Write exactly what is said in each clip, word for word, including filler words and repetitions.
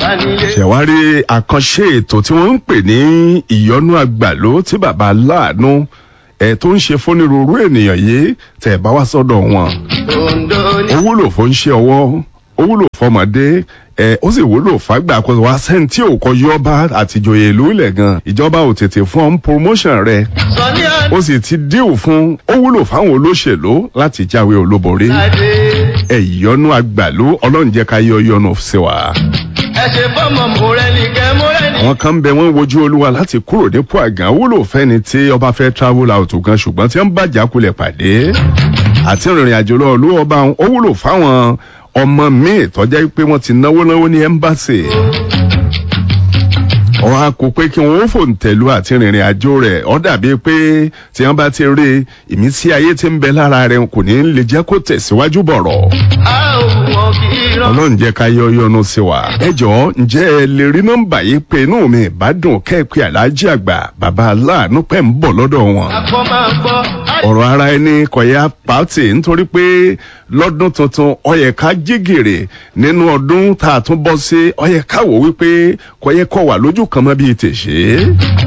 bá nílé. Ṣẹ̀wárí àkànṣe ètò tí wọ́n ń pè ní ìyọnú àgbàló tí bàbá láàánú ẹ̀ tó ń ṣe fónírúurú ènìyàn yìí tẹ̀ bá wá sọ́dọ̀ wọn. Ondo ní. Ó wúlò fún ṣe ọwọ́, ó wúlò fọmọdé ẹ, ó sì wúlò fàgbà kó wá sẹ́ńtì òkò yọba àtìjòyè ìlú ilẹ̀ gan. Ìjọba ò tètè fún ọ́n promotion rẹ̀, Sọ ní ó sì ti díù fún ó wúlò fáwọn olóṣèlú láti jáwé olúborí. àdé. Ẹ̀yọ́nú àgbàló, ọlọ́run jẹ́ ká yọ yọnu sí wa. Ẹ ṣe fọ́mọ mọ̀rẹ́nì kẹ́ mọ̀rẹ́nì. Àwọn kan bẹ, wọ́n wojú olúwa láti kúrò nípò àgàn. Wúlò fẹ́ni tí ọba fẹ́ travel out gan, ṣùgbọ́n tí wọ́n bàjá kulẹ̀ pàdé àti ìrìn àjò lọ olú ọba òun. Ó wúlò fáwọn ọmọ míì tọ́já pé wọ́n ti náwó náwó ní ẹ́mbáṣì, ọ̀rọ̀ a kò pé kí wọ́n ó fòǹtẹ̀lú àti rìnrìn àjò rẹ̀. Ó dàbí pé tí wọ́n bá ti rí ìmísí ayé tí ń bẹ lára rẹ̀, kò ní lè jẹ́ kó tẹ̀síwájú bọ̀rọ̀. A ò wọ́n kì í rán. Ọlọ́run jẹ́ ká yọ yọnu sí wa. Ẹ jọ̀ọ́, ǹjẹ́ ẹ lè rí nọ́mbà yìí pé? Inú mi ìbádùn kẹ́ẹ̀pẹ́ aláàjì àgbà bàbá aláàánú pẹ̀ ń bọ̀ lọ́dọ̀ wọn. Akọ máa gbọ́. Ọ̀rọ̀ ara ẹni kọ̀yà pàtì, nítorí pé lọ́dún tuntun ó yẹ ká jí gìrì nínú ọdún tá a tún bọ́ sí. Ó yẹ ká wò wípé kò yẹ kó wà lójú kan mọ́ bíi tèṣe.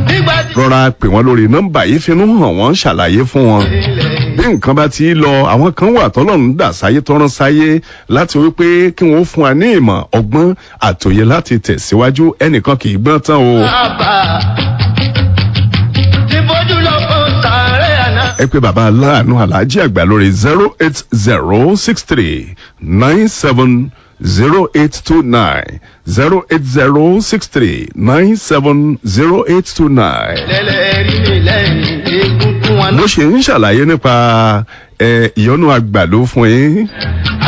Nígbà tí Rọra pè wọ́n lórí nọ́mbà yìí, finú hàn wọ́n, ṣàlàyé fún wọn ilẹ̀ bí nǹkan bá ti lọ. Àwọn kan wà tọ́lọ́run dà sáyé, tọ́rán sáyé láti wípé kí wọ́n fún wa ní ìmọ̀, ọgbọ́n àtòyè láti tẹ̀síwájú. Ẹnìkan kì í gbọ́n tán o. bàbá. Ti bójú lọ fún sàárẹ̀ àná. Ẹ pé bàbá aláàánú aláàjì àgbà lórí zero eight zero six three nine seven zero eight two nine, zero eight zero six three nine seven zero eight two nine. Lẹ́lẹ̀ rí mi lẹ́yìn egungun wọn. Mo ṣe ń ṣàlàyé nípa ẹ, ìyọnu àgbàló fún yín.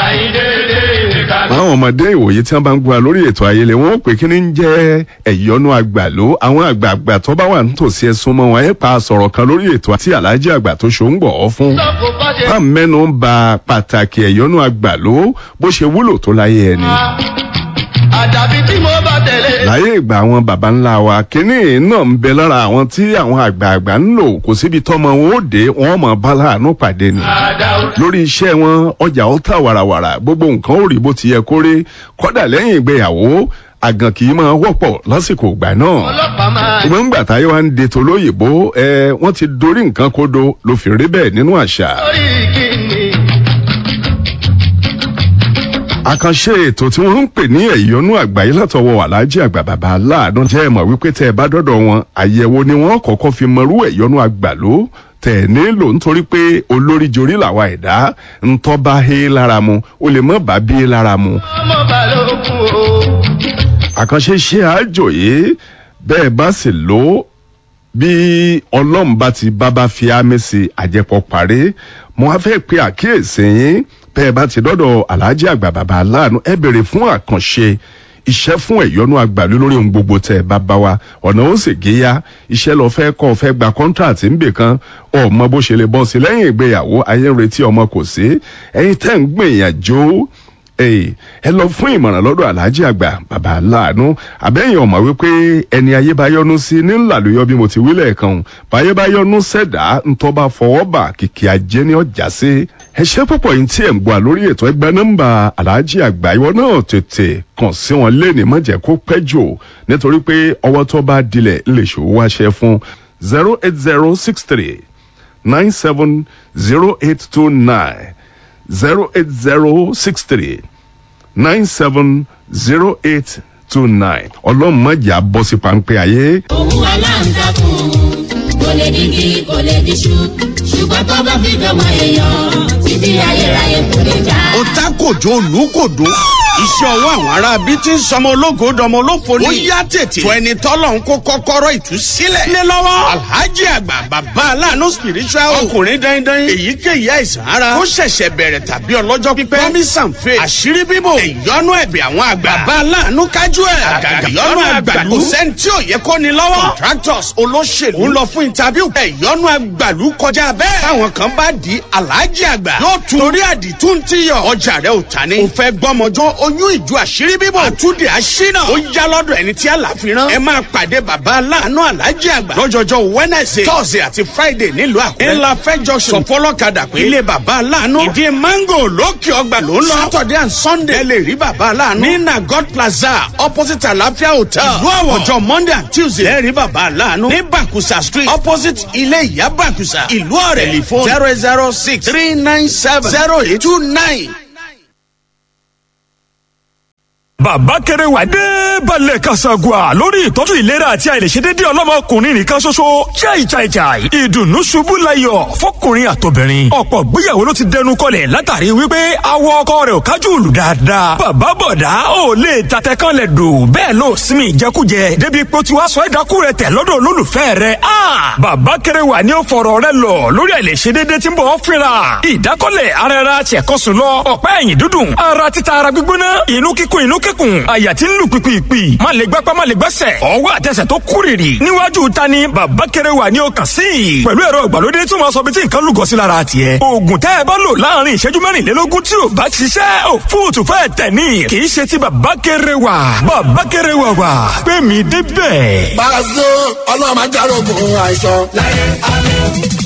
Àyíndéédé ìka. Àwọn ọmọdé ìwòye tí wọn bá ń gbọ́ lórí ètò ayẹlẹ, wọn ó pè kí ni ń jẹ́ ẹ̀yọ́nú àgbàló. Àwọn àgbààgbà tó bá wà nítòsí, ẹ̀sùn mọ́ wọn, ẹ̀ pa sọ̀rọ̀ kan lórí ètò àti aláàjì àgbà tó ṣó ń gbọ̀ ọ́ fún. Sọ́kò bá ṣe. Bá mẹ́nu ń ba pàtàkì ẹ̀yọ́nú àgbàló bó ṣe wúlò tó láyé ẹni. Àdàbí tí mo bá tẹ̀lé. Láyé ìgbà àwọn baba ńlá wa, kínní náà ń bẹ lára àwọn tí àwọn àgbààgbà ń lò. Kò síbi tọ́mọ wọn ó dé, wọn mọ̀ bá láàánú pàdé ni Àdàwọ̀. lórí iṣẹ́ wọn. Ọjà ó tà wàràwàrà, gbogbo nǹkan ó rí bó ti yẹ kó rí. Kódà lẹ́yìn ìgbéyàwó, àgàn kì í máa wọ́pọ̀ lásìkò ìgbà náà. Ọlọ́pàá máa. Ṣùgbọ́n ńgbà táyé wa ń de tolóyìnbó ẹ, wọ́n ti dorí nǹkan kodo ló fi rí bẹ́ẹ̀ nínú àṣà. Lórí kíni. Àkànṣe ètò tí wọ́n ń pè ní ẹ̀yọ́nú àgbáyé látọwọ́ aláàjì àgbà bàbá aláàánú, jẹ́ ẹ mọ̀ wípé tẹ́ ẹ bá dọ́dọ̀ wọn, àyẹ̀wò ni wọ́n kọ́kọ́ fi mọrú ẹ̀yọ́nú àgbàló tẹ̀ nílò, nítorí pé olórí jorí làwa ẹ̀dá ńtọ́ bá hé lára mu, ó lè mọ́ bá bí lára mu. Ọmọ balógun o. Àkànṣe ṣe àjò yìí, bẹ́ẹ̀ bá sì lò ó, bí ọlọ́run bá ti bábá fi ámì sí, àjẹpọ̀ parí. Mo á fẹ́ pe àkíyèsí yín: bẹ́ẹ̀ bá ti dọ́dọ̀ aláàjì àgbà bàbá aláàánú, ẹ béèrè fún àkànṣe iṣẹ́ fún ẹ̀yọ́nú àgbàlú lórí ohun gbogbo tẹ̀ bá bá wa, ọ̀nà ó sì géyà. Iṣẹ́ lọ fẹ́ kọ́, fẹ́ gba kọ́ńtàtì ń bè kan, ọmọ bó ṣe lè bọ́ sí lẹ́yìn ìgbéyàwó, ayé ń retí ọmọ kò sí, ẹ̀yin tẹ́ ń gbìyànjú, Èyí, ẹ lọ fún ìmọ̀ràn lọ́dọ̀ aláàjì àgbà bàbá aláàánú. Àbẹ́yìn ọ̀mọ̀ wípé ẹni ayé bá yọnu sí ní ńlàlóyọ, bí mo ti wí lẹ́ẹ̀kan, báyé bá yọnu sẹ̀dá, ńtọ́ bá fọwọ́ bà, kìkì ajé ní ọjà sí. Ẹ ṣé púpọ̀ yìí tí ẹ̀ ń gbọ́ lórí ètò. Ẹgbẹ́ nọ́mbà aláàjì àgbà, ìwọ náà tètè kàn sí wọn léèní, má jẹ́ kó pẹ́ jù, nítorí pé ọwọ́ tó bá dilẹ̀ lè ṣòwò wáṣẹ fún. Zero eight zero six three nine seven zero eight two nine, zero eight zero six three nine seven zero eight two nine. Ọlọ́run má jà bọ́ sí páńpẹ́ ayé. Òun aláǹtakùn kò lè digi, kò lè diṣu, ṣùgbọ́n tó bá fi dọ́mọ èèyàn, títí ayérayé kò lè já. Ó ta kòjó olùkòdó, iṣẹ́ ọwọ́ àwọn ará bíi ti ń sọmọ ológo dọmọ olófo ni. Ó yá, tètè tó ẹni tọ́lọ̀ ń kó kọ́kọ́rọ́ ìtúsílẹ̀. Lé lọ́wọ́ Alhaji Àgbà bàbá aláàánú spiritual, ọkùnrin dandan. Èyíkéyìí àìsàn ara ó ṣẹ̀ṣẹ̀ bẹ̀rẹ̀ tàbí ọlọ́jọ́ pípẹ́, promise and faith, àṣírí bíbò, ìyọnu ẹ̀bẹ̀ àwọn àgbà, bàbá aláàánú kájú ẹ̀, àgàgà ìyọnu àgbàlú, kò sẹ́ni tí ò yẹ kó ni lọ́wọ́. Contractors, olóṣèlú ń lọ fún interview, ìyọnu àgbàlú kọjá bẹ́ẹ̀. Táwọn kan bá di, Alhaji Àgbà yóò tún torí àdìtú ń tíyọ̀. Ọjà rẹ ò ta ni, ò fẹ́ gbọ́mọjọ́ ó. Oyún ìjú, àṣírí bíbọ̀, àtúndì, àṣínà. Ó yá lọ́dọ̀ ẹni tí àlàfi rán. Ẹ máa pàdé bàbá aláàánú Aláàjì Àgbà lọ́jọ́jọ́ Wednesday, Thursday àti Friday nílùú Àkúrẹ́. Ńlá fẹ́ junction, sọ fọlọ́kadà pé ilé bàbá aláàánú, ìdí mango, lókè ọgbà ló ń lọ. Saturday and Sunday, ẹ lè rí bàbá aláàánú ní Nagot Plaza, opposite Àlàáfíà Hotel, ìlú Àwọ̀. Ọjọ́ Monday and Tuesday, ẹ rí bàbá aláàánú ní Bàkúsà Street, opposite ilé ìyá Bàkúsà, ìlú Ọ̀rẹ́. Telephone zero zero six three nine seven zero eight two nine. Bàbá kéré wà dé balẹ̀ kasagua lórí ìtọ́jú ìlera àti àìlèṣedédé ọlọ́mọkùnrin nìkan ṣoṣo. Chai chai chai, ìdùnnú ṣubú layọ̀ fọkùnrin àtobìnrin. Ọ̀pọ̀ gbéyàwó ló ti dẹnu kọlẹ̀ látàrí wípé awọ ọkọ rẹ̀ ò kájú òlù dáadáa. Bàbá bọ̀dá ò lè tatẹ kan lẹ̀ dò, bẹ́ẹ̀ ló sinmi ìjẹkújẹ débi pé ó ti wá sọ ẹ̀dákú rẹ̀ tẹ̀ lọ́dọ̀ olólùfẹ́ rẹ̀. A bàbá kéré wà ní ó fọ̀rọ̀ rẹ̀ lọ lórí àìlèṣedédé tí ń bọ̀ fínra. Ìdákọ́lẹ̀ ara ẹra ṣẹ̀kọ́sùn lọ, ọ̀pá ẹ̀yìn dúdùn, ara títa, ara gbígbóná, inú kíkún, inú kíkùn, àyà tí ń lù pìpìpì, má lè gbápá, má lè gbẹ́sẹ̀, ọwọ́ àtẹsẹ̀ tó kúrìrì. Níwájú ta ni bàbá kéré wà ní ọkàn sí i pẹ̀lú ẹ̀rọ ìgbàlódé tí wọ́n sọ bí tí nǹkan lúgọ sí lára tiẹ̀. Oògùn tẹ́ ẹ bá lò láàrin ìṣẹ́jú mẹ́rìnlélógún tí ò bá ṣiṣẹ́, ò fóòtù fẹ́ tẹ̀ ní. Kì í ṣe ti bàbá kéré wà. Bàbá kéré wà wà pé mi débẹ̀. Pàṣẹ Ọlọ́run máa járógun àìsàn láyé àmín.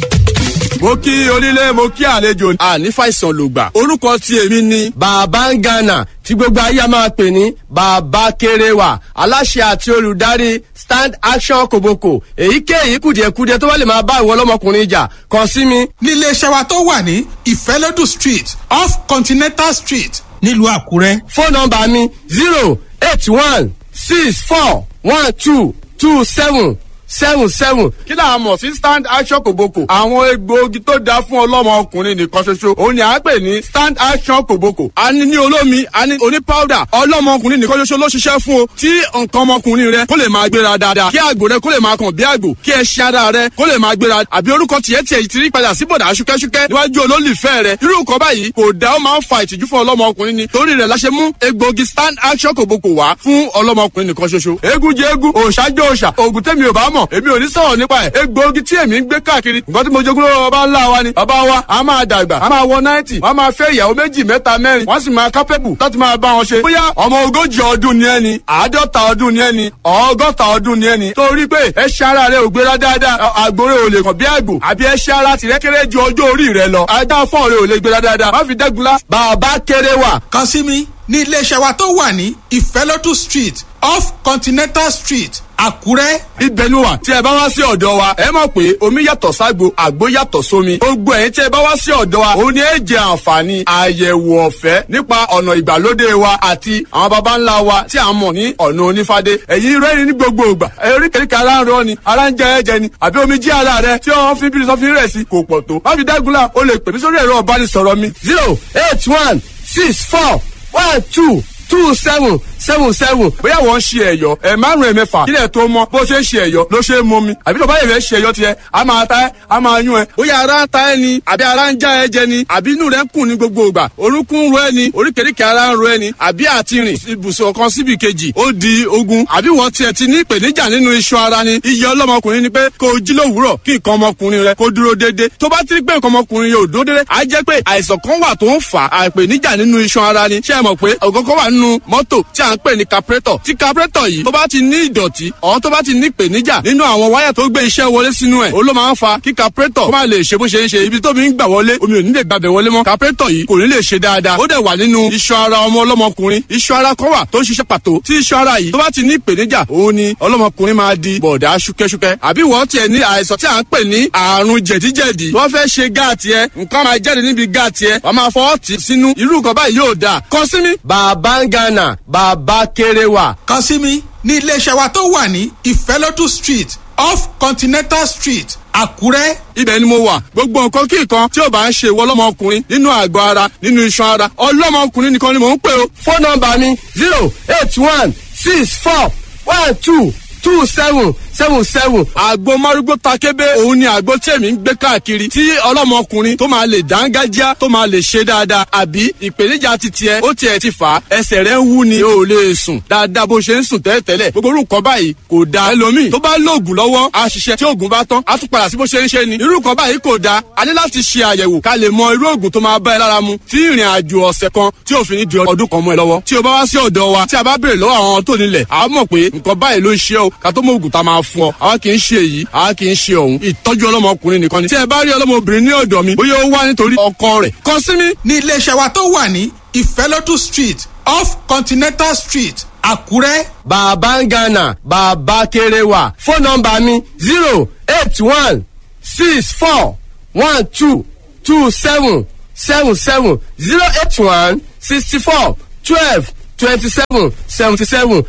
Mo kí onílé, mo kí àlejò, àní fàìsàn lògbà. Orúkọ tí èmi ni Bàbá ń Gánà, tí gbogbo ayé máa pè ní Bàbá Kéréwà, aláṣẹ àti olùdarí Stand Action Koboko. Èyíkéyìí kùdìẹ̀kudiẹ tó bá lè máa bá ìwọ ọlọ́mọkùnrin jà, kàn sí mi. Nílé iṣẹ́ wa tó wà ní Ìfẹ́lódù Street, off Continental Street, nílùú Àkúrẹ́. Fóònù nọ́mbà mi zero eight one six four one two two seven seven seven. Kí là á mọ̀ sí Stand Action Kòbókò? Àwọn egbòogi tó dáa fún ọlọ́mọ ọkùnrin nìkan ṣoṣo òun ni à ń pè ní Stand Action Kòbókò. A ní ní olómi, a ní oní powder. Ọlọ́mọ ọkùnrin nìkan ṣoṣo ló ṣiṣẹ́ fún o, tí nǹkan ọmọkùnrin rẹ kó lè máa gbéra dáadáa, kí àgbò rẹ kó lè máa kàn bí àgbò, kí ẹṣin ara rẹ kó lè máa gbéra, àbí orúkọ tiẹ̀ tiẹ̀ ti rí padà sí bọ̀dà ṣúkẹ́ṣúkẹ́ níwájú olólùfẹ́ rẹ. Irú nǹkan báyìí kò dá, ó máa ń fa ìtìjú fún ọlọ́mọ ọkùnrin ni. Torí rẹ̀ la ṣe mú egbòogi Stand Action Kòbókò wá fún ọlọ́mọ ọkùnrin nìkan ṣoṣo. Eégún jẹ eégún, òòṣà jẹ òòṣà, òògùn tẹ́mi ò bá mọ̀, èmi ò ní sọ̀rọ̀ nípa ẹ̀. Egbòogi tí èmi ń gbé káàkiri, nǹkan tí mo jogún lọ́wọ́ bàbá ńlá wa ni. Bàbá wa a máa dàgbà, a máa wọ náìtì, wọ́n máa fẹ́ ìyàwó méjì, mẹ́ta, mẹ́rin, wọ́n sì máa kápẹ́bù láti máa bá wọn ṣe. Bóyá ọmọ ogójì ọdún ni ẹni, àádọ́ta ọdún ni ẹni, ọgọ́ta ọdún ni ẹni, torí pé ẹṣin ara rẹ ò gbéra dáadáa, àgbòrè ò lè kàn bí àgbò, àbí ẹṣin ara tìrẹ kéré ju ọjọ́ orí rẹ lọ, ajá fọ́ọ̀rẹ ò lè gbéra dáadáa, má fi dẹ́gunlá. Bàbá kéré wà. Kàn sí mi ní iléeṣẹ́ wa tó wà ní Ìfẹ́lódù Street, off Continental Street, Àkúrẹ́. Ibẹ̀ ni wà. Tí ẹ bá wá sí ọ̀dọ̀ wa, ẹ mọ̀ pé omi yàtọ̀ ságbo, àgbo yàtọ̀ sómi. Gbogbo ẹ̀yin tí ẹ bá wá sí ọ̀dọ̀ wa, òun ni ẹ jẹ àǹfààní àyẹ̀wò ọ̀fẹ́ nípa ọ̀nà ìgbàlódé wa àti àwọn baba ńlá wa tí a mọ̀ ní ọ̀nà onífádé. Ẹ̀yin rẹ́rìn ní gbogbo ìgbà, oríkèéríkèé ara ń rọ ni, ara ń jẹ ẹ̀jẹ̀ ni, àbí omi jí ara rẹ tí wọ́n fi bí sọ́fin rẹ̀ sí kò pọ̀ tó. Má fi dágunlá, o lè pè mí sórí ẹ̀rọ ìbánisọ̀rọ̀ mi zero eight one six four one two two seven seven seven. Bóyá wọ́n ń ṣe ẹ̀yọ́ ẹ̀ márùn-ún, ẹ̀mẹ́fà, kílẹ̀ tó mọ́, bó ṣe ń ṣe ẹ̀yọ́ ló ṣe é mú mi, àbí tó bá yẹ̀ fẹ́ ṣe ẹ̀yọ́ tiẹ̀, a máa ta ẹ́, a máa yún ẹ. Bóyá ara ń ta ẹ́ ni, àbí ara ń já ẹ jẹ ni, àbí inú rẹ ń kùn ní gbogbo ìgbà, orúnkún ń ro ẹ ni, oríkèéríkèé ara ń ro ẹ ni, àbí àti rìn ibùsùn kan síbi kejì ó di ogun, àbí wọ́n tiẹ̀ ti ní ìpèníjà nínú iṣan ara ni. Iye ọlọ́mọkùnrin ni pé kó o jí lówùúrọ̀ kí nǹkan ọmọkùnrin rẹ kó dúró déédéé. Tó bá ti rí pé nǹkan ọmọkùnrin yóò dúró déédéé, á jẹ́ pé àìsàn kan wà tó ń fà á, ìpèníjà nínú iṣan ara ni. Ṣé ẹ mọ̀ pé ògógó wà nínú mọ́tò tí à ń pè ní carburetor? Tí carburetor yìí tó bá ti ní ìdọ̀tí ọ̀hún, tó bá ti ní ìpèníjà nínú àwọn wáyà tó gbé iṣẹ́ wọlé sínú ẹ̀, ó ló máa ń fa kí carburetor kó má lè ṣe bó ṣe ń ṣe. Ibi tó mi ń gbà wọlé, omi ò ní lè gbàbẹ̀ wọlé mọ́, carburetor yìí kò ní lè ṣe dáadáa. Ó dẹ̀ wà nínú iṣan ara ọmọ ọlọ́mọkùnrin. Iṣan ara kan wà tó ń ṣiṣẹ́ pàtó. Tí iṣan ara yìí tó bá ti ní ìpèníjà, òun ni ọlọ́mọkùnrin máa di bọ̀dá ṣúkẹ́ṣúkẹ́. Àbí wọ́n tiẹ̀ ní àìsàn tí à ń pè ní àrùn jẹ̀díjẹ̀dí, wọ́n fẹ́ ṣe gáàtì ẹ, nǹkan máa jáde níbi gáàtì ẹ, wọ́n máa fọwọ́ tì sínú. Irú nǹkan báyìí yóò dáa. Kàn sí mi. Bàbá ń Gánà, bàbá kéré wà. Kàn sí mi ní iléeṣẹ́ wa tó wà ní Ìfẹ́lódù Street, off Continental Street, Àkúrẹ́. Ibẹ̀ ni mo wà. Gbogbo nǹkan kí nǹkan tí ò bá ń ṣe ìwọ ọlọ́mọkùnrin nínú àgọ́ ara, nínú iṣan ara, ọlọ́mọkùnrin nìkan ni mò ń pè o. Fóònù nọ́mbà mi zero eight one six four one two two seven seven seven. Àgbo márúgbó takébé, òun ni àgbo tí èmi ń gbé káàkiri, tí ọlọ́mọkùnrin tó máa lè dángájá, tó máa lè ṣe dáadáa, àbí ìpèníjà ti tiẹ̀ ó tiẹ̀ ti fà á, ẹsẹ̀ rẹ̀ ń wú ni, o ò lè sùn dáadáa bó ṣe ń sùn tẹ́lẹ̀tẹ́lẹ̀. Gbogbo orúkọ báyìí kò da. Ẹlòmíì tó bá lóògùn lọ́wọ́ á ṣiṣẹ́, tí oògùn bá tán á tún padà sí bó ṣe ń ṣe ni. Irú nǹkan báyìí kò da. A ní láti ṣe àyẹ̀wò ká lè mọ irú oògùn tó máa bá ẹ lára mu, tí ìrìn àjò ọ̀sẹ̀ kan tí òfin ní di ọdún kan mọ́ ẹ lọ́wọ́. Tí o bá wá sí ọ̀dọ̀ wa, tí a bá béèrè lọ́wọ́ àwọn tó nílẹ̀, a mọ̀ pé nǹkan báyìí ló ń ṣe o, ká tó mọ òògùn tá a máa fún ọ. Àwa kì í ṣe èyí, àwa kì í ṣe òun. Ìtọ́jú ọlọ́mọkùnrin nìkan ni. Tí ẹ bá rí ọlọ́mọbìnrin ní ọ̀dọ̀ mi, bóyá ó wá nítorí ọkọ rẹ̀, kàn sí mi. Ní iléeṣẹ́ wa tó wà ní Ìfẹ́lódù Street, off Continental Street, Àkúrẹ́. Bàbá ń Ghana, bàbá kéré wà. Fóònù nọ́mbà mi zero eight one six four one two two seven seven seven, zero eight one sixty four twelve twenty seven seventy seven.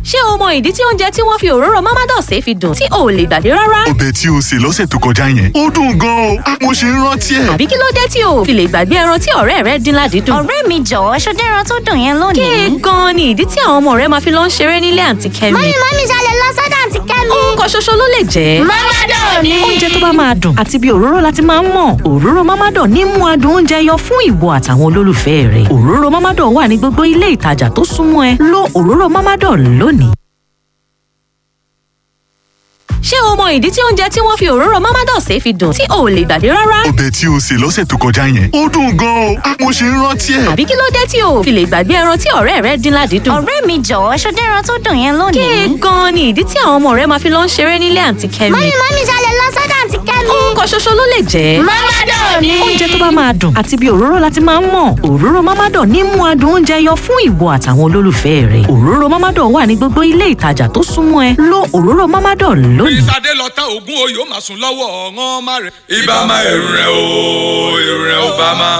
Ṣé o mọ ìdí tí oúnjẹ tí wọ́n fi òróró Mamados fi dùn tí o ò lè gbàgbé rárá? Ọbẹ̀ tí o sè lọ́sẹ̀ tó kọjá yẹn, ó dùn gan-an o. Mo ṣe ń rántí ẹ̀. Àbí kí ló dé tí o ò fi lè gbàgbé ẹran tí ọ̀rẹ́ rẹ dín ládìídùn? Ọ̀rẹ́ mi jọ̀wọ́, ṣọdẹ́ran tó dùn yẹn lónìí. Kí gan-an ni ìdí tí àwọn ọmọ rẹ máa fi lọ ń ṣeré nílé àǹtí Kẹ́mi? Mọ́mí, mọ́mí, ṣalẹ̀ lọ sọ́dọ̀ àǹtí Kẹ́mi. Orúkọ ṣoṣo ló lè jẹ́. Mamados ni. Oúnjẹ tó bá máa dùn àti bí òróró láti máa ń mọ̀. Òróró Mamados ní mú adùn oúnjẹ yọ fún ìwọ àtàwọn olólùfẹ́ rẹ̀. Òróró Mamados wà ní gbogbo ilé ìtajà tó súnmọ́ ẹ. Lo òróró Mamados lónìí. Ṣé o mọ ìdí tí oúnjẹ tí wọ́n fi òróró Mamados fi dùn tí o ò lè gbàgbé rárá? Ọbẹ̀ tí o sè lọ́sẹ̀ tó kọjá yẹn, ó dùn gan-an o. Mo ṣe ń rántí ẹ̀. Àbí kí ló dé tí o ò fi lè gbàgbé ẹran tí ọ̀rẹ́ rẹ dín ládìídùn? Ọ̀rẹ́ mi jọ̀wọ́, ṣọdẹ́ran tó dùn yẹn lónìí. Kí gan-an ni ìdí tí àwọn ọmọ rẹ máa fi lọ ń ṣeré nílé àǹtí Kẹ́mi? Mọ́mí, mọ́mí, ṣalẹ̀ lọ sọ́dọ̀ àǹtí Kẹ́mi. Orúkọ ṣoṣo ló lè jẹ́. Mamados ni. Oúnjẹ tó bá máa dùn àti bí òróró láti máa ń mọ̀. Òróró Mamados ní mú adùn oúnjẹ yọ fún ìwọ àtàwọn olólùfẹ́ rẹ̀. Òróró Mamados wà ní gbogbo ilé ìtajà tó súnmọ́ ẹ. Lo òróró Mamados lónìí. Ìsàdé lọ tán ògún oyè ó máa sùn lọ́wọ́ ọ̀ràn má rẹ̀. Ibà máa ẹ̀rù rẹ̀ o, ẹ̀rù rẹ̀ ó bá má.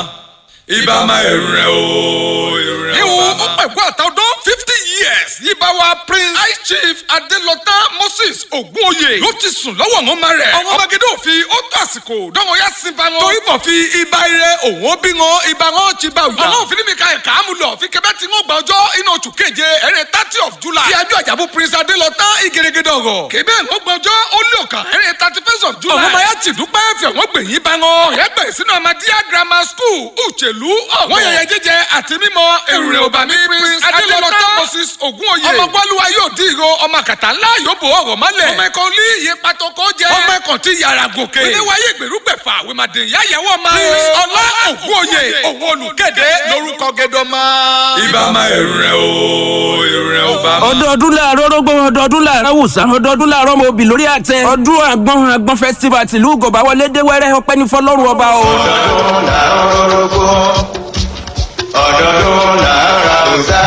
Ibà máa ẹ̀rù rẹ̀ o, ẹ̀rù rẹ̀ ó bá má. Ìwọ ó pẹ̀kú àtàdán fifty years yíba wa Prince High Chief Adelọta Moses Ògúnoyè ló ti sùn lọ́wọ́ ọ̀ràn má rẹ̀. Ọmọ Magidó òfin ó tó àsìkò dánwò yá sí ba wọn. Torí bọ̀ fi ibà ire òun ó bí wọn, ibà wọn ti bá òyà. Ọlọ́run fi ní mi ka ẹ̀ka àmúlọ̀ fi kẹ́bẹ́ tí wọ́n gba ọjọ́ inú oṣù keje ẹ̀rẹ́ thirty of July. Ti ajọ́ àjàbù Prince Adelọta ìgèrègèdè ọ̀rọ̀. Kébé ń gbọ́ ọjọ́ ó lé ọ̀kan ẹ̀rẹ́ thirty first of July. Ọmọ ya ti dúpẹ́ fẹ̀ wọ́n gbẹ̀yìn bá wọn. Ọ̀yẹ́ gbẹ̀ sínú Ahmadiyya Grammar School Uchelu ọ̀wọ́. Wọ́n yẹyẹ jíjẹ àti mímọ èrè òbàmí Prince Adelọta Moses Ògúnoyè. Ọmọ gbọ́lúwa yóò dín ìró, ọmọ àkàtà ńlá yóò bò ọ̀rọ̀ mọ́lẹ̀. Ọmọ ẹ̀kọ́ ní iye pàtọ́kọ́ jẹ́. Ọmọ ẹ̀kọ́ ti yàrá gòkè. Oníwáyé ìgbèrúgbẹ̀fà wèmàdé yáyàwó ọmọ. Prince Ọlá Ògúnoyè òun olùkéde lórúkọ gẹdọmọ. Ibà máa ẹ̀rù rẹ̀ o, ẹ̀rù rẹ̀ ó bá má. Ọdọọdún láàárọ̀ rógbó, ọdọọdún láàárọ̀ wùsà, ọdọọdún láàárọ̀ mo bì lórí àtẹ. Ọdún àgbọn àgbọn festival tìlú Gọ̀bá wọlé dé wẹ́rẹ́, ọpẹ́ ní fọlọ́run ọba o. Ọdọọdún làárọ̀ rógbó, ọdọọdún làárọ̀ àwùsá.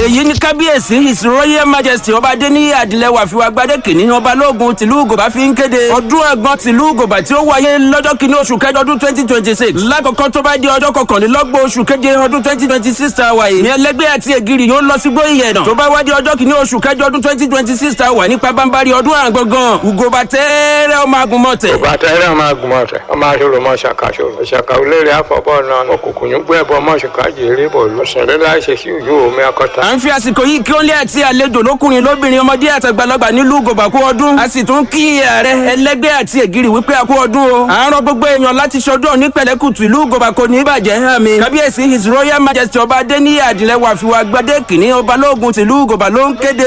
Èyí ní kábíyèsí His Royal Majesty Ọba Adéníyí Adìlẹ́wà Fìwàgbadé kìíní, ọba lóògùn tìlú Gòbá fi ń kéde ọdún àgbọn tìlú Gòbá tí ó wáyé lọ́jọ́ kìíní oṣù kẹjọ ọdún twenty twenty six. Lákòókò tó bá di ọjọ́ kọkànlélọ́gbọ̀n oṣù keje ọdún twenty twenty six tá a wà yìí ní ẹlẹ́gbẹ́ àti ègiri yóò lọ sí gbóyè tó bá wá di ọjọ́ kìíní oṣù kẹjọ ọdún twenty twenty six tá a wà nípa bámbárí ọdún àgbọ̀ngàn Ugòbá tẹ́ẹ́rẹ́ ọmọ agùnmọ̀tẹ̀. Òbá tẹ́rẹ́ ọmọ agùnmọ̀tẹ̀, ọmọ aṣọ́rò mọ́ ṣàkàṣọ́rò ṣàkà olórí àfọ̀bọ́ náà òkùnkùn yóò gbé ẹbọ mọ́ ṣùkà jèrè bọ̀ lọ́sẹ̀rẹ́ láìṣe sí òjò omi akọta. À ń fi àsìkò yìí kí ó lé àti àlejò lókùnrin lóbìnrin ọmọdé àtàgbàlagbà nílùú Gòbà kú ọdún. A sì tún kí ààrẹ ẹlẹ́gbẹ́ àti ègiri wípé a kú ọdún o. À ń rọ gbogbo èèyàn láti ṣọdún ní pẹ̀lẹ́kùtù, ìlú Gòbà kò ní bàjẹ́ hàn mi. Kábíyèsí His Royal Majesty Ọba Adéníyì Adìlẹ́wà Fìwàgbadé kìíní, ọba lóògùn tìlú Gòbà ló ń kéde.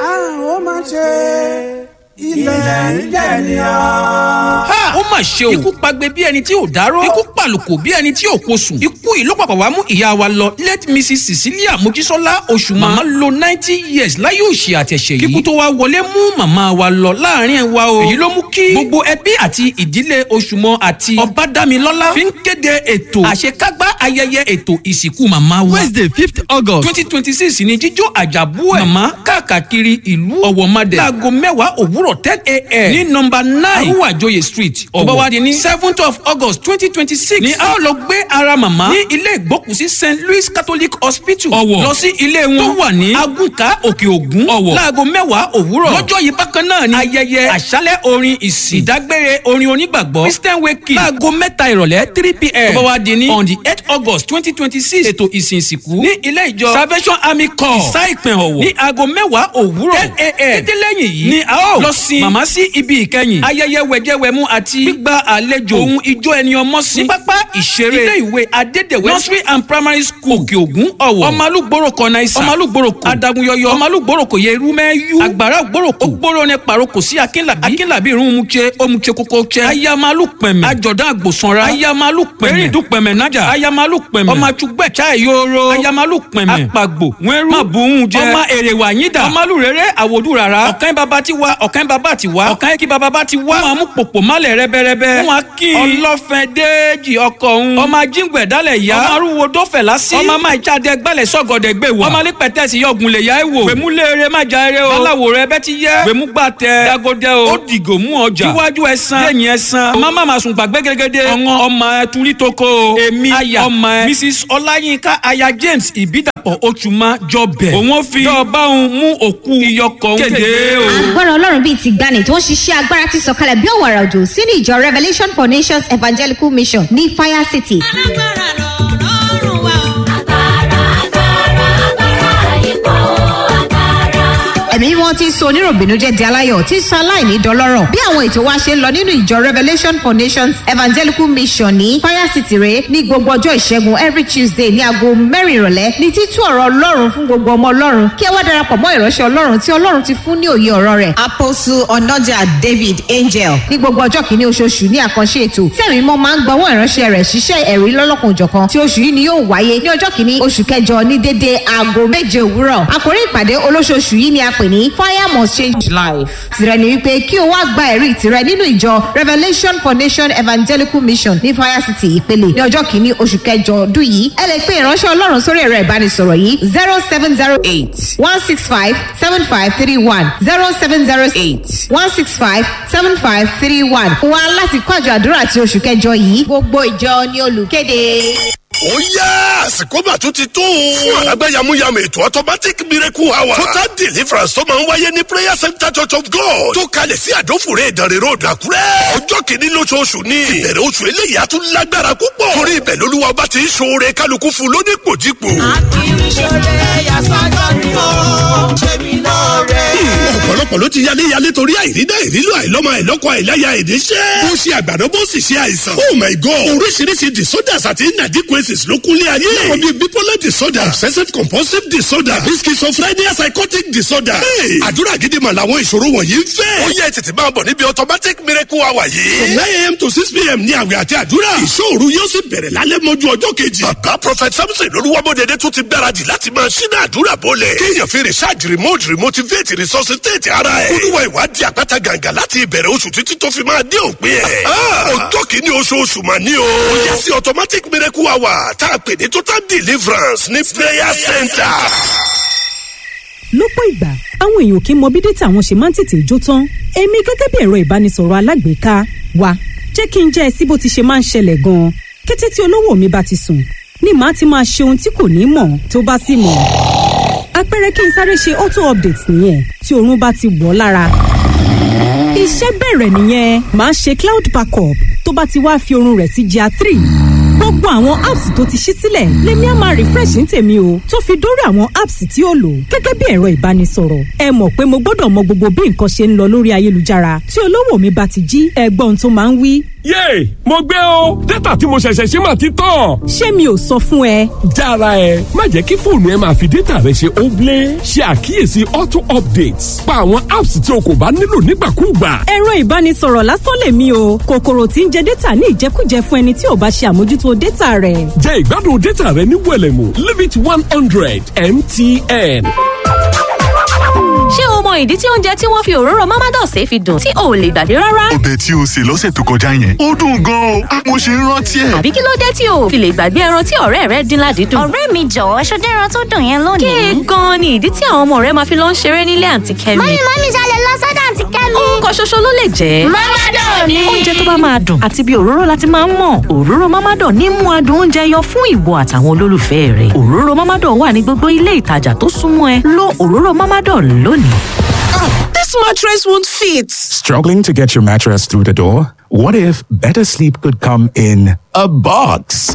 Àrùn ó máa ṣe ilẹ̀ ń jẹ̀ ní ọ́. Ha! Ó mà ṣe o. Ikú pagbe bí ẹni tí ò dárò. Ikú pàlùkò bí ẹni tí ò kosùn. Ikú yìí ló pàpà wá mú ìyá wa lọ. Late Missus Cecilia Mojísọ́lá Oṣùmá. Màmá lo ninety years láyé òṣì àtẹ̀ṣẹ̀ yìí. Kíkú tó wá wọlé mú màmá wa lọ láàrin wa o. Èyí ló mú kí gbogbo ẹbí àti ìdílé Oṣùmọ àti Ọbádámilọ́lá fi ń kéde ètò àṣekágbá ayẹyẹ ètò ìsìnkú màmá wa. Wednesday fifth August twenty twenty six ni jíjó àjàbú ẹ̀. Màmá káàkiri ìlú Ọ̀wọ̀madẹ̀. Láago mẹ́wàá òwúrọ̀. òwúrọ̀ ten a.m. ní nọmba nine arúwàjòyè street ọ̀wọ̀ tó bá wá di ní seventh of august twenty twenty six ni a ó lọ gbé ara màmá ní ilé ìgbókùsí st louis catholic hospital ọ̀wọ̀ lọ sí ilé wọn tó wà ní agùnkà òkè ògùn ọ̀wọ̀ láago mẹ́wàá òwúrọ̀ lọ́jọ́ yìí bákan náà ni ayẹyẹ àṣálẹ̀ orin ìsìn ìdágbére orin onígbàgbọ́ christian wake láago mẹ́ta ìrọ̀lẹ́ three pm tó bá wá di ní on the eight august twenty twenty six ètò ìsìn ìsìnkú ní ilé ìjọ salvation army corps ìsá ìpín ọ̀wọ̀ ní aago mẹ́wàá òwúrọ̀ ten a.m. títí lẹ́yìn yìí ni a ó lọ sin màmá sí ibi ìkẹyìn ayẹyẹ wẹ̀jẹwẹ̀mu àti gbígba àlejò ohun ijó ẹni ọmọ sí ní pápá ìṣeré ilé ìwé adédèwé nursery and primary school òkè ògùn ọ̀wọ̀ ọmọlúgbòrò kọ̀nà ìsà ọmọlúgbòrò kò adagunyọyọ ọmọlúgbòrò kò yẹ irúmẹ́yú àgbàrá ògbòrò kò gbòrò ní paroko sí akínlàbí akínlàbí irun mutse omutse koko tse ayamalu pẹ̀mẹ̀ àjọ̀dán àgbòsanra ayamalu pẹ̀mẹ̀ erindun pẹ̀mẹ̀ nájà ayamalu pẹ̀mẹ̀ ọmọ àtúgbẹ̀ chai yoro ayamalu pẹ̀mẹ̀ apagbo wẹ́rú mabuhun jẹ ọmọ èrè wà yín dà ọmọlúrere àwòdù rárá ọ̀kan bàbá ti wá ọ̀kan bàbá ti wá ọ̀kan kí bàbá ti wá wọn mú pòpò málẹ̀ rẹ́bẹ́rẹ́bẹ́ wọn kí ọlọ́fẹ́ déèjì ọkọ̀ òun ọmọ ajíǹgbẹ̀ dálẹ̀ yá ọmọ arúgbó dọ́fẹ̀ lásì ọmọ máa jáde gbálẹ̀ sọ́gọ̀dẹ̀ gbé wà ọmọ alípẹ̀tẹ̀sì yọ̀gùn lè yá ẹ̀ wò gbèmúlẹ̀ má ja eré o aláwo rẹ bẹ́ ti yẹ gbèmúgbà tẹ dagode o ó dìgò mú ọjà iwájú ẹsan lẹ́yìn ẹsan ọmọ má máa sùn gbàgbé gẹ́gẹ́dẹ́ ọ̀ngàn ọmọ ẹ turí toko o èmi aya ọmọ ẹ mrs ọláyínká aya james ìbídàpọ̀ oṣùmá jọbẹ̀ òun ó fi dọ́ọ̀bá òun mú òkú iyọkọ̀ òun kéde o. Agbára Ọlọ́run bíi ti gbani tó ń ṣiṣẹ́ agbára ti sọ̀kalẹ̀ bí òwàrà òjò sínú ìjọ Revelation for Nations Evangelical Mission ní Fire City. Ẹ̀mí mímọ́ ti ń sọ oníròbìnújẹ́ di aláyọ̀ tí ń sọ aláìní dọlọ́rọ̀ bí àwọn ètò wa ṣe ń lọ nínú ìjọ Revelation for Nations Evangelical Mission ní Fire City rèé ní gbogbo ọjọ́ ìṣẹ́gun every Tuesday ní aago mẹ́rin ìrọ̀lẹ́ ní títú ọ̀rọ̀ Ọlọ́run fún gbogbo ọmọ Ọlọ́run kí ẹ wá darapọ̀ mọ́ ìránṣẹ́ Ọlọ́run tí Ọlọ́run ti fún ní òye ọ̀rọ̀ rẹ̀. Apostle Onoja David Angel. Ní gbogbo ọjọ́ kìíní oṣooṣù ní àkànṣe ètò tí ẹ̀mí mímọ́ máa ń gbọ́wọ́ ìránṣẹ́ rẹ̀ ṣiṣẹ́ ẹ̀rí lọ́lọ́kan-ò-jọ̀kan tí oṣù yìí ni yóò wáyé ní ọjọ́ kìíní oṣù kẹjọ ní dédé aago méje òwúrọ̀. Àkórí ìpàdé olóṣooṣù yìí ni a pè ní fire must change life. Tìrẹ ni wípé kí o wá gba ẹ̀rí tìrẹ nínú ìjọ Revelation for Nation Evangelical Mission ní Fire City ìpele ní ọjọ́ kìíní oṣù kẹjọ ọdún yìí. Ẹ lè pe ìránṣẹ́ Ọlọ́run sórí ẹ̀rọ ìbánisọ̀rọ̀ yìí zero seven zero eight one six five seven five three one zero seven zero eight one six five seven five three one. Wá láti kọ́ àjọ àdúrà ti oṣù kẹjọ yìí. Gbogbo ìjọ ni olùkéde. Ó yá, àsìkò mà tún ti tó. Fún àlágbá yamuyamu ètò automatic miracle hour. Total deliverance tó máa ń wáyé ní Prayer Center Church of God. Tó kalẹ̀ sí Àdófòrè Ìdànrè Road, Àkúrẹ́. Ọjọ́ kìíní lóṣooṣù ni. Ìbẹ̀rẹ̀ oṣù eléyìí á tún lágbára púpọ̀. Torí ibẹ̀ lolúwa ọba ti ń ṣoore kálukú fún lónípòjípò. Akíníṣẹ́lẹ̀ yasọ́jọ́ ni ó ṣe mí lóore. Ọ̀pọ̀lọpọ̀ ló ti yálé yálé torí àìrídá ìrílò àìlọ́mọ àìlọ́kọ àìláya ìdíṣẹ́. Ó ṣe àgbàdo bó sì ṣe àìsàn. Oh my God! Oríṣiríṣi disorders àti inadequacies ló kúnlé ayé. Láwọn bíi bipolar disorder, obsessive compulsive disorder, àbí schizophrenia, psychotic disorder. Hey! Àdúrà gidi mà làwọn ìṣòro wọ̀nyí ń fẹ́. Ó yẹ tètè máa bọ̀ níbi automatic miracle hour yìí. From nine a.m. to six p.m. ní àwẹ̀ àti àdúrà. Ìṣòro yóò sì bẹ̀rẹ̀ lálẹ́ mọ́jú ọjọ́ kejì. Bàbá Prophet Samson Olúwamọ́dẹ̀dẹ̀ tún ti gbáradì láti máa ṣínà àdúrà bọ́lẹ̀. Kéèyàn fi research remote remotivate resuscitate ara ẹ̀. Olúwa ìwádìí àpáta gàǹgà láti ìbẹ̀rẹ̀ oṣù títí tó fi máa dé òpin ẹ̀. Ọjọ́ kìíní oṣooṣù mà ní o. Ó yẹ sí automatic miracle hour tá a pè ní total deliverance ní prayer center. Lọ́pọ̀ ìgbà, àwọn èèyàn kì í mọ bí dátà wọn ṣe máa ń tètè jó tán. Èmi gẹ́gẹ́ bí ẹ̀rọ ìbánisọ̀rọ̀ alágbèéká wa, jẹ́ kí n jẹ́ ẹ sí bó ti ṣe máa ń ṣẹlẹ̀ gan-an. Kété tí olówó mi bá ti sùn ni màá ti máa ṣe ohun tí kò ní mọ̀ tó bá sì mọ̀. Àpẹẹrẹ kí n sáré ṣe auto update nìyẹn tí oorun bá ti wọ̀ ọ́ lára. Iṣẹ́ bẹ̀rẹ̀ nìyẹn, màá ṣe cloud backup. Tó bá ti wá fi oorun rẹ̀ sí G R three, gbogbo àwọn apps tó ti ṣí sílẹ̀ lèmi á máa refresh ní tèmi o, tó fi dórí àwọn apps tí ó lò gẹ́gẹ́ bí ẹ̀rọ ìbánisọ̀rọ̀. Ẹ mọ̀ pé mo gbọ́dọ̀ mọ gbogbo bí nǹkan ṣe ń lọ lórí ayélujára tí olówó mi bá ti jí. Ẹgbọ́n tó máa ń wí. Yéè, mo gbé o, dátà tí mo ṣẹ̀ṣẹ̀ ṣe mà ti tán. Ṣé mi ò sọ fún ẹ? Jára ẹ, má jẹ́ kí fóònù ẹ máa fi dátà rẹ ṣe óblé. Ṣe àkíyèsí auto updates, pa àwọn apps tí o kò bá nílò nígbàkúùgbà. Ẹ̀rọ ìbánisọ̀rọ̀ lásán lèmi o, kòkòrò tí ń jẹ dátà ní ìjẹkújẹ fún ẹni tí ò bá ṣe àmójútó dátà rẹ̀. Jẹ ìgbádùn dátà rẹ ní wẹ̀lẹ̀mú, limit one hundred M T N. Ṣé o mọ ìdí tí oúnjẹ tí wọ́n fi òróró Mamados fi dùn tí o ò lè gbàgbé rárá? Ọbẹ̀ tí o sè lọ́sẹ̀ tó kọjá yẹn, ó dùn gan-an o. Mo ṣe ń rántí ẹ̀. Àbí kí ló dé tí o ò fi lè gbàgbé ẹran tí ọ̀rẹ́ rẹ dín ládìídùn? Ọ̀rẹ́ mi, jọ̀wọ́, ṣọdẹ́ ẹran tó dùn yẹn lónìí. Kí gan-an ni ìdí tí àwọn ọmọ rẹ máa fi lọ ń ṣeré nílé àǹtí Kẹ́mi? Mummy, mummy, ṣalẹ̀ lọ sọ́dọ̀ àǹtí Kẹ́mi. Ó kan ṣoṣo ló lè jẹ́. Mọ́mádọ̀ ni. Oúnjẹ tó bá máa dùn àti bí òróró láti máa ń mọ̀. Òróró Mọ́mádọ̀ ní mú adùn oúnjẹ yọ fún ìwọ àtàwọn olólùfẹ́ rẹ̀. Òróró Mọ́mádọ̀ wà ní gbogbo ilé ìtajà tó súnmọ́ ẹ. Lo òróró Mọ́mádọ̀ lónìí. This mattress won't fit. Struggling to get your mattress through the door? What if better sleep could come in a box?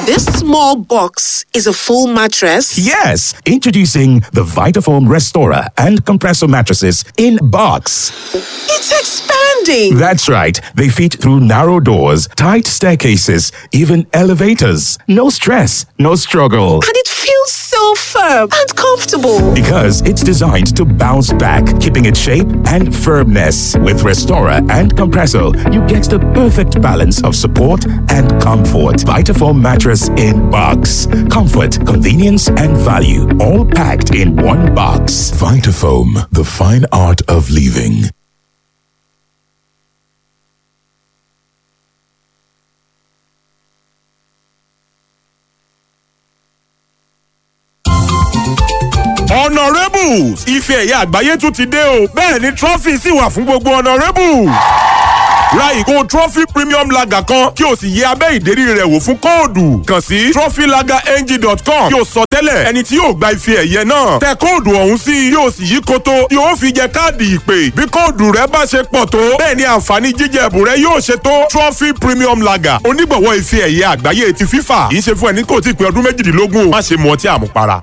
This small box is a full mattress. Yes! Introducing the Vitafoam Restorer and Compressor mattresses in box. It's expanding. That's right. They fit through narrow doors, tight staircases, even elevators. No stress, no struggle. And it feels so firm and comfortable. Because it's designed to bounce back, keeping its shape and firmness. With Restorer and Compressor, you get the perfect balance of support and comfort. Vitafoam mattress in box. Comfort, convenience, and value, all packed in one box. Vitafoam, the fine art of living. Honourables, ife ẹ̀yẹ àgbáyé tún ti dé o. Bẹ́ẹ̀ ni trọ́fì sì wà fún gbogbo honourables. Ra ìgò Trophy Premium Lager kan kí o sì yẹ abẹ́ ìdérí rẹ̀ wò fún kóòdù. Kàn sí trophylagerng dot com kí o sọ tẹ́lẹ̀ ẹni tí yóò gba ife ẹ̀yẹ náà. Tẹ kóòdù ọ̀hún sí i yóò sì yí koto yóò fi jẹ káàdì ìpè. Bí kóòdù rẹ bá ṣe pọ̀ tó, bẹ́ẹ̀ ni àǹfààní jíjẹ ẹ̀bùn rẹ yóò ṣe tó. Trophy Premium Lager, onígbọ̀wọ́ ife ẹ̀yẹ àgbáyé ti FIFA. Kì í ṣe fún ẹni kò tí ì pé ọdún méjìdínlógún o. Má ṣe mu ọtí àmupara.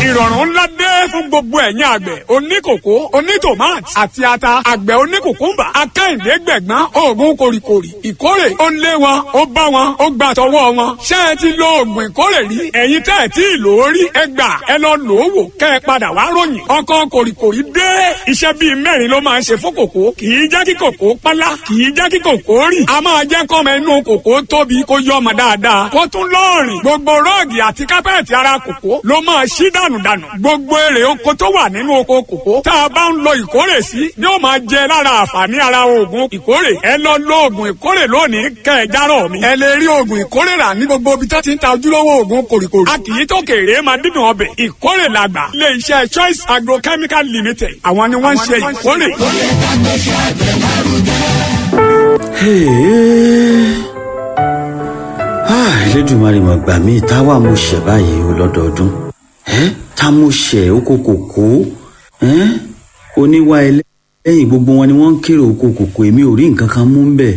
Ìrọ̀rùn ńlá dé fún gbogbo ẹ̀yin àgbẹ̀ oníkòkó, onítòmáàtì àti ata. Àgbẹ̀ oníkòkúmbà, akáìndé gbẹ̀gbọ́n oògùn kòrìkòrì ìkórè ó ń lé wọn, ó bá wọn, ó gbà tọwọ́ wọn. Ṣé ẹ ti lo oògùn ìkórè rí? Ẹ̀yin tẹ́ ẹ tí ì lò ó rí, ẹ gbà ẹ lọ lò ó wò kẹ́ ẹ padà wá ròyìn. Ọkọ kòrìkòrì dé. Iṣẹ́ bíi mẹ́rin ló máa ń ṣe fún kòkó. Kì í jẹ́ kí kòkó pálá, kì í jẹ́ kí kòkó rì. A máa jẹ́ kọ́mọ inú kòkó tóbi kó yọ ọmọ dáadáa kó tún lọ́ọ̀rìn. Gbogbo rọ́ọ̀gì àti kápẹ́ẹ̀tì ara kòkó ló máa ṣí dànù dànù. Gbogbo èrè oko tó wà nínú oko kòkó tá a bá ń lo ìkórè sí ni ó máa jẹ lára àǹfààní ara oògùn ìkórè. Ẹ lọ lo oògùn ìkórè lónìí kẹ ẹ járọ mi. Ẹ lè rí oògùn ìkórè rà ní gbogbo ibi tó ti ń ta ojúlówó oògùn kòrìkòrì. A kì í tó kéré máa dídùn ọbẹ̀. Ìkórè làgbà. Ilé iṣẹ́ Choice Agrochemical Limited, àwọn ni wọ́n ń ṣe ìkórè. Elédùmarè mà gbà mí, táwa mo ṣẹ̀ báyìí o lọ́dọọdún. Ẹ́ tá mo ṣẹ̀ oko kòkó oníwà ẹlẹ́yìn, gbogbo wọn ni wọ́n ń kéré oko kòkó, èmi ò rí nǹkan kan mú ń bẹ̀.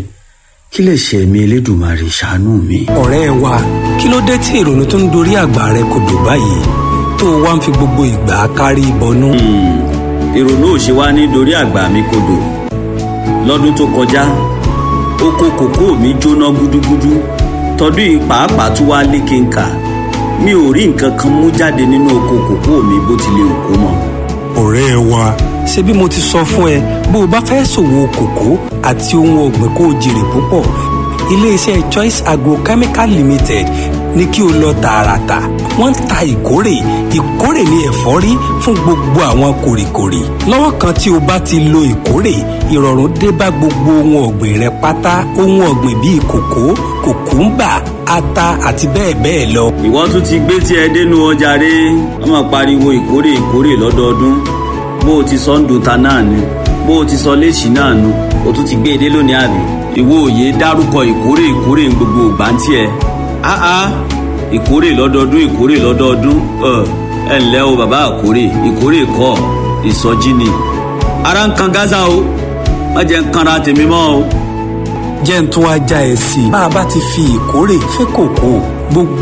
Kí lè ṣe mi, Elédùmarè, ṣàánú mi. Ọ̀rẹ́ wa, kí ló dé tí ìrònú tó ń dorí àgbà rẹ kò dùn báyìí tó o wá ń fi gbogbo ìgbà kárí ìbọnú? Ìrònú ò ṣe wá ní dorí àgbà mi kodò. Lọ́dún tó kọjá, oko kòkó mi jóná gúdúgúdú. Tọdún yìí pàápàá tún wá lékenkà. Mi ò rí nǹkan kan mú jáde nínú oko kòkó mi bó tilẹ̀ òkú mọ́. Ọ̀rẹ́ wa, ṣé bí mo ti sọ fún ẹ, bó o bá fẹ́ ṣòwò kòkó àti ohun ọ̀gbìn kó o jèrè púpọ̀, iléeṣẹ́ Choice Agrochemical Limited ní kí o lọ tààràtà. Wọ́n ń ta ìkórè. Ìkórè ní ẹ̀fọ́rí fún gbogbo àwọn kòrìkòrì. Lọ́wọ́ kan tí o bá ti lo ìkórè, ìrọ̀rùn dé bá gbogbo ohun ọ̀gbìn rẹ pátá. Ohun ọ̀gbìn bíi kòkó, kòkúńbà, ata àti bẹ́ẹ̀ bẹ́ẹ̀ lọ. Ìwọ tún ti gbé tí ẹ dénú ọjà rẹ, wọ́n máa pariwo ìkórè ìkórè lọ́dọọdún. Bó o ti sọ ń dùn ta náà ni bó o ti sọ léṣì náà nu, o tún ti gbé e dé lónìí, àbí? Ìwọ òye dárúkọ ìkórè ìkórè ń gbogbo ògbà ń tiẹ̀. Áá, ìkórè lọ́dọọdún, ìkórè lọ́dọọdún. Ẹ ǹlẹ́ o bàbá àkórè, ìkórè kọ́ ìsọjí ni. Ara ń kan Gaza o, má jẹ́ ń kanra tèmi mọ́ o. Jẹ́ ń tún wá já ẹ sí i. Bá a bá ti fi ìkórè fẹ́ kòkó gbogbo